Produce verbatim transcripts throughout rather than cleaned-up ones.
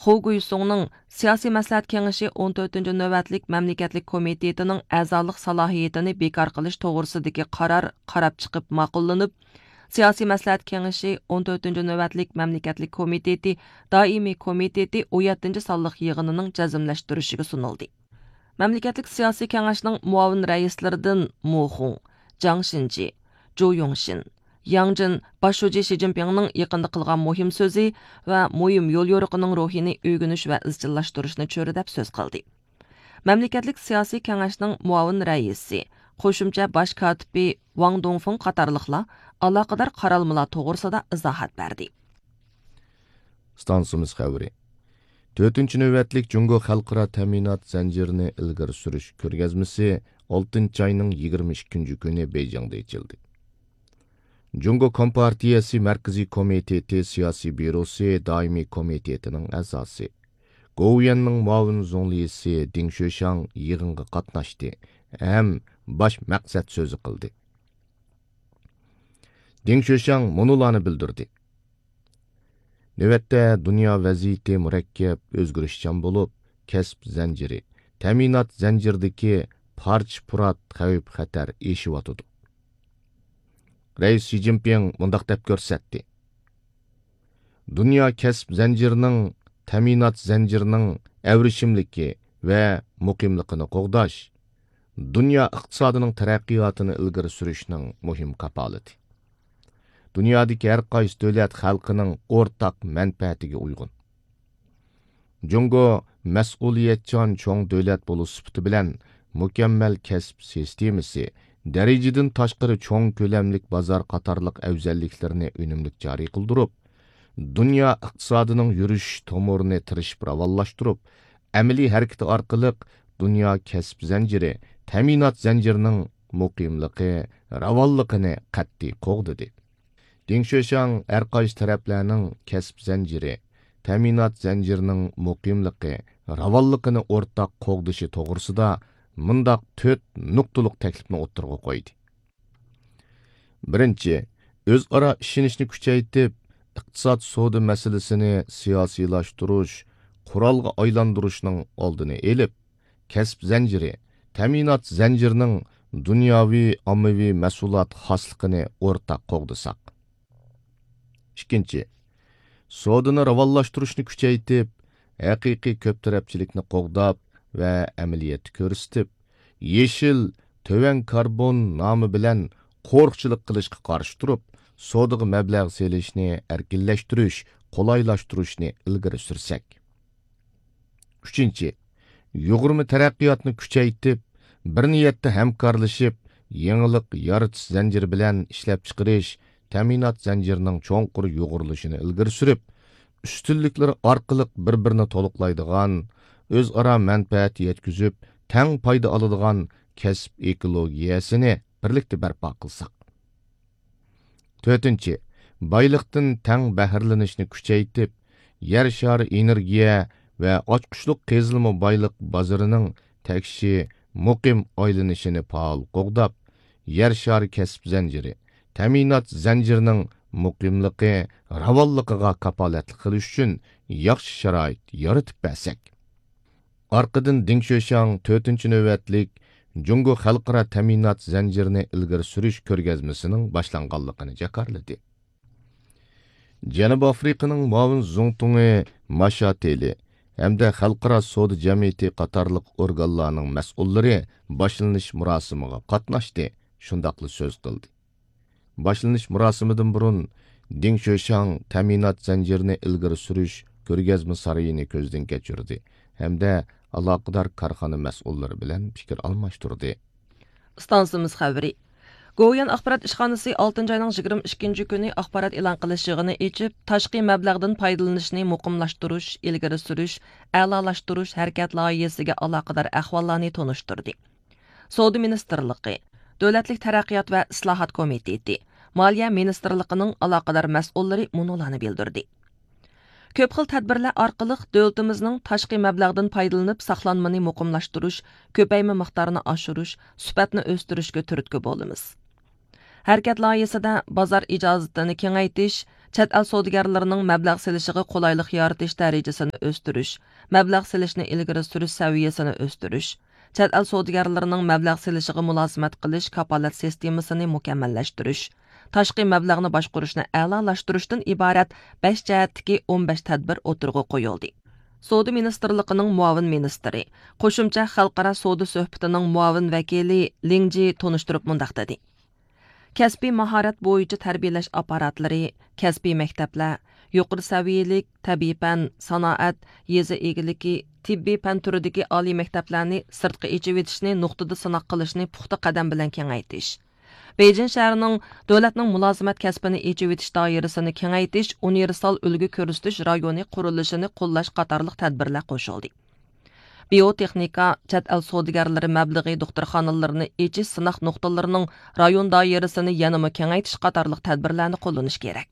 خۇ گۇيسۇڭنىڭ سىياسىي مەسلىھەت كېڭىشى ئون تۆتىنچى نۆۋەتلىك مەملىكەتلىك كومىتېتىنىڭ ئەزالىق سالاھىيىتىنى بىكار قىلىش توغرىسىدىكى قارار قاراپ چىقىپ ماقۇللىنىپ، سىياسىي مەسلىھەت كېڭىشى ئون تۆتىنچى نۆۋەتلىك مەملىكەتلىك كومىتېتى دائىمىي كومىتېتى ئون يەتتىنچى سانلىق يىغىنىنىڭ جەزملەشتۈرۈشىگە سۇنۇلدى. مەملىكەتلىك سىياسىي كېڭەشنىڭ مۇئاۋىن رەئىسلىرىدىن مو خۇڭ، جاڭ شىنجى، جۇ يۇڭشىن، ياڭ جىن باش شۇجى شى جىنپىڭنىڭ يېقىندا قىلغان مۇھىم سۆزى ۋە مۇھىم يوليورۇقىنىڭ روھىنى ئۆگىنىش ۋە ئىزچىللاشتۇرۇشنى چۆرىدەپ سۆز قىلدى. مەملىكەتلىك سىياسىي كېڭەشنىڭ مۇئاۋىن رەئىسى، قوشۇمچە باش كاتىپى ۋاڭ دۇڭفېڭ قاتارلىقلار ئالاقىدار قارالمىلار توغرىسىدا ئىزاھات بەردى. ئىستانسىمىز خەۋىرى. تۆتىنچى نۆۋەتلىك جۇڭگو خەلقئارا تەمىنات زەنجىرىنى ئىلگىرى سۈرۈش كۆرگەزمىسى ئالتىنچى ئاينىڭ يىگىرمە ئىككىنچى كۈنى بېيجىڭدا ئېچىلدى. جۇڭگو كومپارتىيەسى مەركىزىي كومىتېتى سىياسىي بيۇروسى دائىمىي كومىتېتىنىڭ ئەزاسى، گوۋۇيۈەننىڭ مۇئاۋىن زۇڭلىسى دېڭ شۆشياڭ يىغىنغا قاتناشتى ھەم باش مەقسەت سۆزى قىلدى. دېڭ شۆشياڭ مۇنۇلارنى بىلدۈردى. نۆۋەتتە دۇنيا ۋەزىيىتى مۇرەككەپ، ئۆزگىرىشچان بولۇپ، كەسىپ زەنجىرى، تەمىنات زەنجىرىدىكى پارچە-پۇرات، خەۋپ-خەتەر ئېشىۋاتىدۇ. رەئىس شى جىنپىڭ مۇنداق دەپ كۆرسەتتى: دۇنيا كەسىپ زەنجىرىنىڭ، تەمىنات زەنجىرىنىڭ ئەۋرىشىملىكى ۋە مۇقىملىقىنى قوغداش دۇنيا ئىقتىسادىنىڭ تەرەققىياتىنى ئىلگىرى سۈرۈشنىڭ مۇھىم كاپالىتى. دۇنيادىكى ھەر قايسى دۆلەت خەلقىنىڭ ئورتاق مەنپەئەتىگە ئۇيغۇن. جۇڭگو مەسئۇلىيەتچان چوڭ دۆلەت بولۇش سۈپىتى بىلەن مۇكەممەل كەسىپ سىستېمىسى، دەرىجىدىن تاشقىرى چوڭ كۆلەملىك بازار قاتارلىق ئەۋزەللىكلىرىنى ئۈنۈملۈك جارى قىلدۇرۇپ، دۇنيا ئىقتىسادىنىڭ يۈرۈش تومۇرىنى تىرىشىپ راۋانلاشتۇرۇپ، ئەمەلىي ھەرىكىتى ئارقىلىق دۇنيا كەسىپ زەنجىرى، تەمىنات زەنجىرىنىڭ مۇقىملىقى، راۋانلىقىنى قەتئىي قوغدىدى. دېڭ شۆشياڭ ھەر قايسى تەرەپلەرنىڭ كەسىپ زەنجىرى، تەمىنات زەنجىرىنىڭ مۇقىملىقى، راۋانلىقىنى ئورتاق قوغدىشى توغرىسىدا مۇنداق تۆت نۇقتىلىق تەكلىپنى ئوتتۇرىغا قويدى. بىرىنچى، ئۆزئارا ئىشىنىشنى كۈچەيتىپ، ئىقتىساد سودا مەسىلىسىنى سىياسىيلاشتۇرۇش، قورالغا ئايلاندۇرۇشنىڭ ئالدىنى ئېلىپ، كەسىپ زەنجىرى، تەمىنات زەنجىرىنىڭ دۇنياۋى ئاممىۋى مەھسۇلات خاسلىقىنى ئورتاق قوغدىساق. ئىككىنچى، سودىنى راۋانلاشتۇرۇشنى كۈچەيتىپ، ھەقىقىي كۆپ تەرەپچىلىكنى قوغداپ ۋە ئەمەلىيەتتە كۆرسىتىپ، يېشىل، تۆۋەن كاربون نامى بىلەن قورۇقچىلىق قىلىشقا قارشى تۇرۇپ، سودىغا مەبلەغ سېلىشنى ئەركىنلەشتۈرۈش، قولايلاشتۇرۇشنى ئىلگىرى سۈرسەك. ئۈچىنچى، يۇغۇرما تەرەققىياتنى كۈچەيتىپ، بىر نىيەتتە ھەمكارلىشىپ، يېڭىلىق يارىتىش زەنجىرى بىلەن ئىشلەپچىقىرىش، تەمىنات زەنجىرىنىڭ چوڭقۇر يۇغۇرۇلۇشىنى ئىلگىرى سۈرۈپ، ئۈستۈنلۈكلىرى ئارقىلىق بىر-بىرىنى تولۇقلايدىغان، ئۆزئارا مەنپەئەت يەتكۈزۈپ، تەڭ پايدا ئالىدىغان كەسىپ ئېكولوگىيەسىنى بىرلىكتە بەرپا قىلساق. تۆتىنچى، بايلىقتىن تەڭ بەھرىلىنىشنى كۈچەيتىپ، يەر شارى ئېنېرگىيە ۋە ئاچقۇچلۇق قېزىلما بايلىق بازىرىنىڭ تەكشى مۇقىم ئايلىنىشىنى پائال قوغداپ، يەر شارى كەسىپ زەنجىرى، تەمىنات زەنجىرىنىڭ مۇقىملىقى، راۋانلىقىغا كاپالەتلىك قىلىش ئۈچۈن ياخشى شارائىت يارىتىپ بەرسەك. ئارقىدىن دېڭ شۆشياڭ تۆتىنچى نۆۋەتلىك جۇڭگو خەلقئارا تەمىنات زەنجىرىنى ئىلگىرى سۈرۈش كۆرگەزمىسىنىڭ باشلانغانلىقىنى جاكارلىدى. جەنۇبىي ئافرىقىنىڭ مۇئاۋىن زۇڭتۇڭى ماشاتېلى ھەمدە خەلقئارا سودا جەمئىيىتى قاتارلىق ئورگانلارنىڭ مەسئۇللىرى باشلىنىش مۇراسىمىغا قاتناشتى، شۇنداقلا سۆز قىلدى. باشلىنىش مۇراسىمىدىن بۇرۇن، دېڭ شۆشياڭ تەمىنات زەنجىرىنى ئىلگىرى سۈرۈش كۆرگەزمە سارىيىنى كۆزدىن كەچۈردى ھەمدە ئالاقىدار كارخانا مەسئۇللىرى بىلەن پىكىر ئالماشتۇردى. ئىستانسىمىز خەۋىرى. گوۋۇيۈەن ئاخبارات ئىشخانىسى ئالتىنچى ئاينىڭ يىگىرمە ئىككىنچى كۈنى ئاخبارات ئېلان قىلىش يىغىنى ئېچىپ، تاشقى مەبلەغدىن پايدىلىنىشنى مۇقىملاشتۇرۇش، ئىلگىرى سۈرۈش، ئەلالاشتۇرۇش ھەرىكەت لايىھىسىگە ئالاقىدار ئەھۋاللارنى تونۇشتۇردى. سودا مىنىستىرلىقى، دۆلەتلىك تەرەققىيات ۋە ئىسلاھات كومىتېتى، مالىيە مىنىستىرلىقىنىڭ ئالاقىدار مەسئۇللىرى مۇنۇلارنى بىلدۈردى. كۆپ خىل تەدبىرلەر ئارقىلىق دۆلىتىمىزنىڭ تاشقى مەبلەغدىن پايدىلىنىپ ساقلانمىنى مۇقىملاشتۇرۇش، كۆپەيمە مىقدارىنى ئاشۇرۇش، سۈپەتنى ئۆستۈرۈشكە تۈرتكە بولىمىز. ھەرىكەت لايىھىسىدە بازار ئىجازىتىنى كېڭەيتىش، چەت ئەل سودىگەرلىرىنىڭ مەبلەغ سېلىشىغا قولايلىق يارىتىش دەرىجىسىنى ئۆستۈرۈش، مەبلەغ سېلىشنى ئىلگىرى سۈرۈش سەۋىيەسىنى ئۆستۈرۈش، چەت ئەل سودىگەرلىرىنىڭ مەبلەغ سېلىشىغا مۇلازىمەت قىلىش كاپالەت سىستېمىسىنى مۇكەممەللەشتۈرۈش، تاشقى مەبلەغنى باشقۇرۇشنى ئەلالاشتۇرۇشتىن ئىبارەت بەش جەھەتتىكى ئون بەش تەدبىر ئوتتۇرىغا قويۇلدى. سودا مىنىستىرلىقىنىڭ مۇئاۋىن مىنىستىرى، قوشۇمچە خەلقئارا سودا سۆھبىتىنىڭ مۇئاۋىن ۋەكىلى لىڭ جى تونۇشتۇرۇپ مۇنداق دېدى: كەسپىي ماھارەت بويىچە تەربىيەلەش ئاپپاراتلىرى، كەسپىي مەكتەپلەر، يۇقىرى سەۋىيەلىك تەبىئىي پەن، سانائەت، يېزا ئىگىلىكى، تېببىي پەن تۈرىدىكى ئالىي مەكتەپلەرنى سىرتقا ئېچىۋېتىشنى نۇقتىدا سىناق قىلىشنى پۇختا قەدەم بىلەن كېڭەيتىش، بېيجىڭ شەھىرىنىڭ دۆلەتنىڭ مۇلازىمەت كەسپىنى ئېچىۋېتىش دائىرىسىنى كېڭەيتىش، ئۇنىۋېرسال ئۈلگە كۆرسىتىش رايونى قۇرۇلۇشىنى قوللاش قاتارلىق تەدبىرلەر قوشۇلدى. بىيوتېخنىكا، چەت ئەل سودىگەرلىرى مەبلىغى دوختۇرخانىلىرىنى ئېچىش سىناق نۇقتىلىرىنىڭ رايون دائىرىسىنى يەنىمۇ كېڭەيتىش قاتارلىق تەدبىرلەرنى قوللىنىش كېرەك.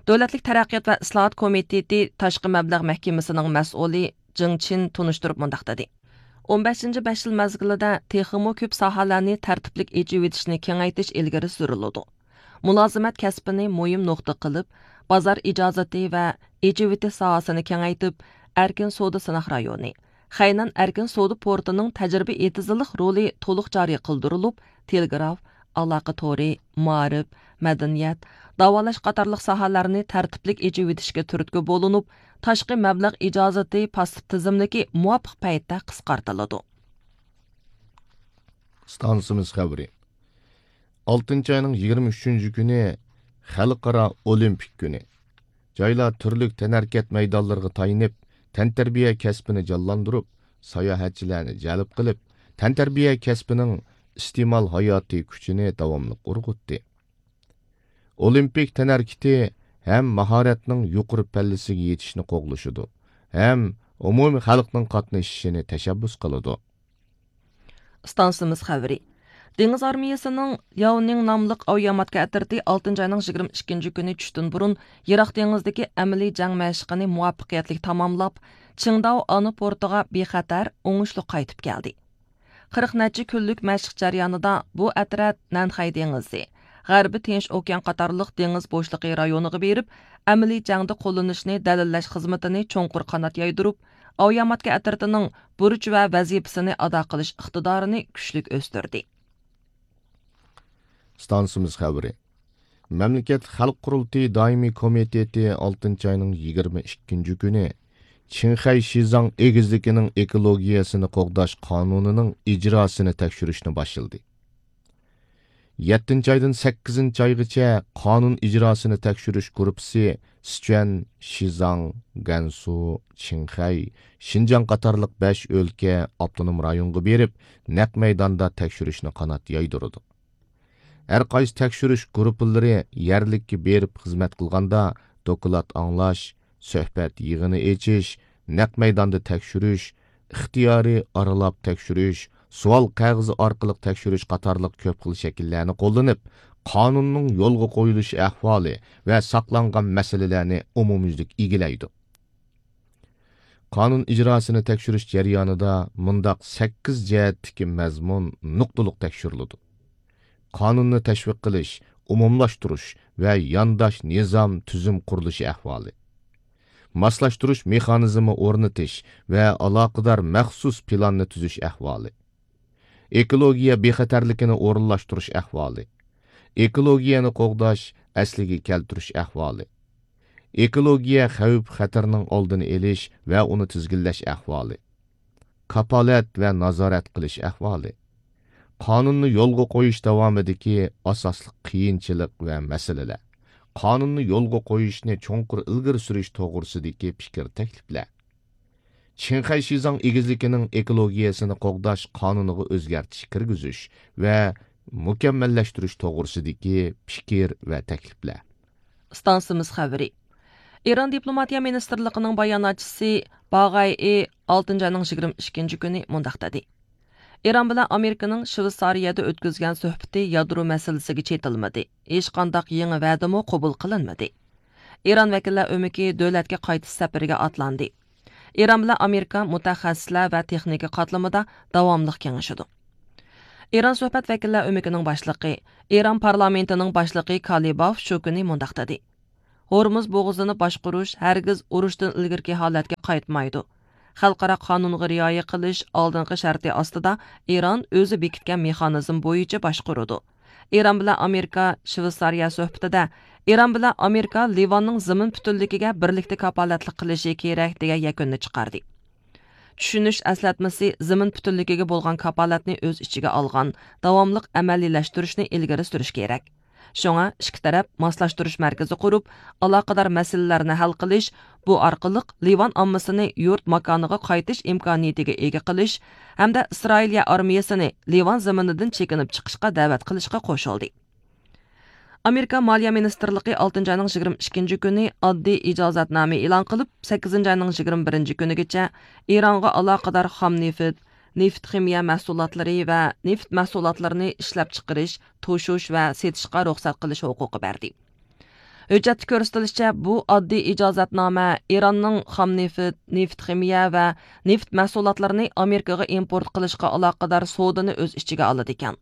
دۆلەتلىك تەرەققىيات ۋە ئىسلاھات كومىتېتى تاشقى مەبلەغ مەھكىمىسىنىڭ مەسئۇلى جېڭ چىن تونۇشتۇرۇپ مۇنداق دېدى: ئون بەشىنچى بەش يىل مەزگىلىدە تېخىمۇ كۆپ ساھەلەرنى تەرتىپلىك ئېچىۋېتىشنى كېڭەيتىش ئىلگىرى سۈرۈلىدۇ. مۇلازىمەت كەسپىنى مۇھىم نۇقتا قىلىپ، بازار ئىجازىتى ۋە ئېچىۋېتىش ساھەسىنى كېڭەيتىپ، ئەركىن سودا سىناق رايونى، خەينەن ئەركىن سودا پورتىنىڭ تەجرىبە ئېتىزلىق رولى تولۇق جارى قىلدۇرۇلۇپ، تېلېگراف، ئالاقە تورى، مائارىپ، مەدەنىيەت، داۋالاش قاتارلىق ساھەلەرنى تەرتىپلىك ئېچىۋېتىشكە تۈرتكە بولۇنۇپ، تاشقى مەبلەغ ئىجازىتى پاسسىپ تىزىملىكى مۇۋاپىق پەيتتە قىسقارتىلىدۇ. ئىستانسىمىز خەۋىرى. ئالتىنچى ئاينىڭ يىگىرمە ئۈچىنچى كۈنى خەلقئارا ئولىمپىك كۈنى. جايلار تۈرلۈك تەنھەرىكەت مەيدانلىرىغا تايىنىپ، تەنتەربىيە كەسپىنى جانلاندۇرۇپ، ساياھەتچىلەرنى جەلپ قىلىپ، تەنتەربىيە كەسپىنىڭ ئىستېمال ھاياتىي كۈچىنى داۋاملىق ئۇرغۇتتى. ئولىمپىك تەنھەرىكىتى ھەم ماھارەتنىڭ يۇقىرى پەللىسىگە يېتىشنى قوغلىشىدۇ، ھەم ئومۇمىي خەلقنىڭ قاتنىشىشىنى تەشەببۇس قىلىدۇ. ئىستانسىمىز خەۋىرى. دېڭىز ئارمىيەسىنىڭ لياۋنىڭ ناملىق ئاۋىئاماتكا ئەترىتى ئالتىنچى ئاينىڭ يىگىرمە ئىككىنچى كۈنى چۈشتىن بۇرۇن يىراق دېڭىزدىكى ئەمەلىي جەڭ مەشىقىنى مۇۋەپپەقىيەتلىك تاماملاپ، چىڭداۋ ئانا پورتىغا بىخەتەر، ئوڭۇشلۇق قايتىپ كەلدى. قىرىق نەچچە كۈنلۈك مەشىق جەريانىدا بۇ ئەترەت نەنخەي دېڭىزى، غەربىي تىنچ ئوكيان قاتارلىق دېڭىز بوشلۇقى رايونىغا بېرىپ، ئەمەلىي جەڭدە قوللىنىشنى دەلىللەش خىزمىتىنى چوڭقۇر قانات يايدۇرۇپ، ئاۋىئاماتكا ئەترىتىنىڭ بۇرچ ۋە ۋەزىپىسىنى ئادا قىلىش ئىقتىدارىنى كۈچلۈك ئۆستۈردى. ئىستانسىمىز خەۋىرى. مەملىكەت خەلق قۇرۇلتىيى دائىمىي كومىتېتى ئالتىنچى ئاينىڭ يىگىرمە ئىككىنچى كۈنى چىڭخەي شىزاڭ ئېگىزلىكىنىڭ ئېكولوگىيەسىنى قوغداش قانۇنىنىڭ ئىجراسىنى تەكشۈرۈشنى باشلىدى. يەتتىنچى ئايدىن سەككىزىنچى ئايغىچە قانۇن ئىجراسىنى تەكشۈرۈش گۇرۇپپىسى سىچۈەن، شىزاڭ، گەنسۇ، چىڭخەي، شىنجاڭ قاتارلىق بەش ئۆلكە، ئاپتونوم رايونغا بېرىپ، نەق مەيداندا تەكشۈرۈشنى قانات يايدۇرىدۇ. ھەر قايسى تەكشۈرۈش گۇرۇپپىلىرى يەرلىككە بېرىپ خىزمەت قىلغاندا، دوكلات ئاڭلاش، سۆھبەت يىغىنى ئېچىش، نەق مەيداندا تەكشۈرۈش، ئىختىيارىي ئارىلاپ تەكشۈرۈش، سوئال قەغىزى ئارقىلىق تەكشۈرۈش قاتارلىق كۆپ خىل شەكىللەرنى قوللىنىپ، قانۇننىڭ يولغا قويۇلۇش ئەھۋالى ۋە ساقلانغان مەسىلىلەرنى ئومۇميۈزلۈك ئىگىلەيدۇ. قانۇن ئىجراسىنى تەكشۈرۈش جەريانىدا مۇنداق سەككىز جەھەتتىكى مەزمۇن نۇقتىلىق تەكشۈرۈلىدۇ: قانۇننى تەشۋىق قىلىش، ئومۇملاشتۇرۇش ۋە يانداش نىزام تۈزۈم قۇرۇلۇشى ئەھۋالى، ماسلاشتۇرۇش مېخانىزمى ئورنىتىش ۋە ئالاقىدار مەخسۇس پىلاننى تۈزۈش ئەھۋالى، ئېكولوگىيە بىخەتەرلىكىنى ئورۇنلاشتۇرۇش ئەھۋالى، ئېكولوگىيەنى قوغداش، ئەسلىگە كەلتۈرۈش ئەھۋالى، ئېكولوگىيە خەۋپ خەتىرىنىڭ ئالدىنى ئېلىش ۋە ئۇنى تىزگىنلەش ئەھۋالى، كاپالەت ۋە نازارەت قىلىش ئەھۋالى، قانۇننى يولغا قويۇش داۋامىدىكى ئاساسلىق قىيىنچىلىق ۋە مەسىلىلەر، قانۇننى يولغا قويۇشنى چوڭقۇر ئىلگىرى سۈرۈش توغرىسىدىكى پىكىر تەكلىپلەر، چىڭخەي شىزاڭ ئېگىزلىكىنىڭ ئېكولوگىيەسىنى قوغداش قانۇنىغا ئۆزگەرتىش كىرگۈزۈش ۋە مۇكەممەللەشتۈرۈش توغرىسىدىكى پىكىر ۋە تەكلىپلەر. ئىستانسىمىز خەۋىرى. ئىران دىپلوماتىيە مىنىستىرلىقىنىڭ باياناتچىسى باغايئى ئالتىنچى ئاينىڭ يىگىرمە ئىككىنچى كۈنى مۇنداق دېدى: ئىران بىلەن ئامېرىكىنىڭ شۋېتسارىيەدە ئۆتكۈزگەن سۆھبىتى يادرو مەسىلىسىگە چېتىلمىدى، ھېچقانداق يېڭى ۋەدىمۇ قوبۇل قىلىنمىدى. ئىران ۋەكىللەر ئۆمىكى دۆلەتكە قايتىش سەپىرىگە ئاتلاندى. ئىران بىلەن ئامېرىكا مۇتەخەسسىسلەر ۋە تېخنىكا قاتلىمىدا داۋاملىق كېڭىشىدۇ. ئىران سۆھبەت ۋەكىللەر ئۆمىكىنىڭ باشلىقى، ئىران پارلامېنتىنىڭ باشلىقى كالىباف شۇ كۈنى مۇنداق دېدى: ھورمۇز بوغۇزىنى باشقۇرۇش ھەرگىز ئۇرۇشتىن ئىلگىرىكى ھالەتكە قايتمايدۇ. خەلقئارا قانۇنغا رىئايە قىلىش ئالدىنقى شەرتى ئاستىدا ئىران ئۆزى بېكىتكەن مېخانىزم بويىچە باشقۇرىدۇ. ئىران بىلەن ئامېرىكا شۋېتسارىيە سۆھبىتىدە ئىران بىلەن ئامېرىكا لىۋاننىڭ زېمىن پۈتۈنلۈكىگە بىرلىكتە كاپالەتلىك قىلىشى كېرەك دېگەن يەكۈننى چىقاردى. چۈشىنىش ئەسلەتمىسى زېمىن پۈتۈنلۈكىگە بولغان كاپالەتنى ئۆز ئىچىگە ئالغان داۋاملىق ئەمەلىيلەشتۈرۈشنى ئىلگىرى سۈرۈش كېرەك. شۇڭا ئىككى تەرەپ ماسلاشتۇرۇش مەركىزى قۇرۇپ، ئالاقىدار مەسىلىلەرنى ھەل قىلىش، بۇ ئارقىلىق لىۋان ئاممىسىنى يۇرت ماكانىغا قايتىش ئىمكانىيىتىگە ئىگە قىلىش ھەمدە ئىسرائىلىيە ئارمىيىسىنى لىۋان زېمىنىدىن چېكىنىپ چىقىشقا دەۋەت قىلىشقا قوشۇلدى. ئامېرىكا مالىيە مىنىستىرلىقى ئالتىنچى ئاينىڭ يىگىرمە ئىككىنچى كۈنى ئاددىي ئىجازەتنامە ئېلان قىلىپ، سەككىزىنچى ئاينىڭ يىگىرمە بىرىنچى كۈنىگىچە ئىرانغا ئالاقىدار خام نېفىت، نېفىت خىمىيە مەھسۇلاتلىرى ۋە نېفىت مەھسۇلاتلىرىنى ئىشلەپچىقىرىش، توشۇش ۋە سېتىشقا رۇخسەت قىلىش ھوقۇقى بەردى. ھۆججەتتە كۆرسىتىلىشىچە، بۇ ئاددىي ئىجازەتنامە ئىراننىڭ خام نېفىت، نېفىت خىمىيە ۋە نېفىت مەھسۇلاتلىرىنى ئامېرىكىغا ئىمپورت قىلىشقا ئالاقىدار سودىنى ئۆز ئىچىگە ئالىدىكەن.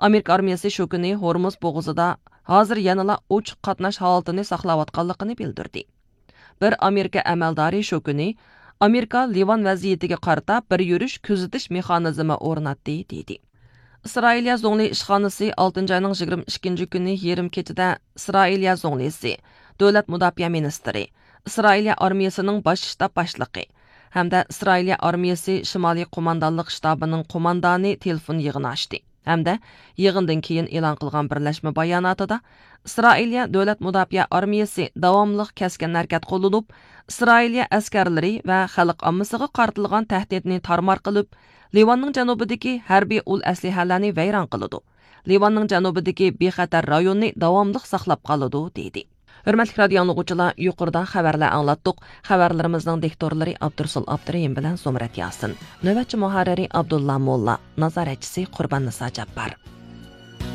ئامېرىكا ئارمىيىسى شۇ كۈنى ھورمۇز بوغۇزىدا ھازىر يەنىلا ئوچۇق قاتناش ھالىتىنى ساقلاۋاتقانلىقىنى بىلدۈردى. بىر ئامېرىكا ئەمەلدارى شۇ كۈنى ئامېرىكا لىۋان ۋەزىيىتىگە قارىتا بىر يۈرۈش كۆزىتىش مېخانىزمى ئورناتتى، دېدى. ئىسرائىلىيە زۇڭلى ئىشخانىسى ئالتىنچى ئاينىڭ يىگىرمە ئىككىنچى كۈنى يېرىم كېچىدە ئىسرائىلىيە زۇڭلىسى، دۆلەت مۇداپىئە مىنىستىرى، ئىسرائىلىيە ئارمىيىسىنىڭ باش شتاب باشلىقى ھەمدە ئىسرائىلىيە ئارمىيىسى شىمالىي قوماندانلىق شتابىنىڭ قوماندانى تېلېفون يىغىنى ئاچتى ھەمدە يىغىندىن كېيىن ئېلان قىلغان بىرلەشمە باياناتىدا، ئىسرائىلىيە دۆلەت مۇداپىئە ئارمىيىسى داۋاملىق كەسكىن ھەرىكەت قوللىنىپ، ئىسرائىلىيە ئەسكەرلىرى ۋە خەلق ئاممىسىغا قارىتىلغان تەھدىتنى تارمار قىلىپ، لىۋاننىڭ جەنۇبىدىكى ھەربىي ئۇل ئەسلىھەلەرنى ۋەيران قىلىدۇ، لىۋاننىڭ جەنۇبىدىكى بىخەتەر رايوننى داۋاملىق ساقلاپ قالىدۇ، دېدى. ھۆرمەتلىك رادىيو ئاڭلىغۇچىلار، يۇقىرىدا خەۋەرلەر ئاڭلاتتۇق. خەۋەرلىرىمىزنىڭ دىكتورلىرى ئابدۇرسۇل ئابدۇرېھىم بىلەن زۇمرەت ياسىن. نۆۋەتچى مۇھەررىرى ئابدۇللا موللا. نازارەتچىسى قۇربان نىسا جاپپار.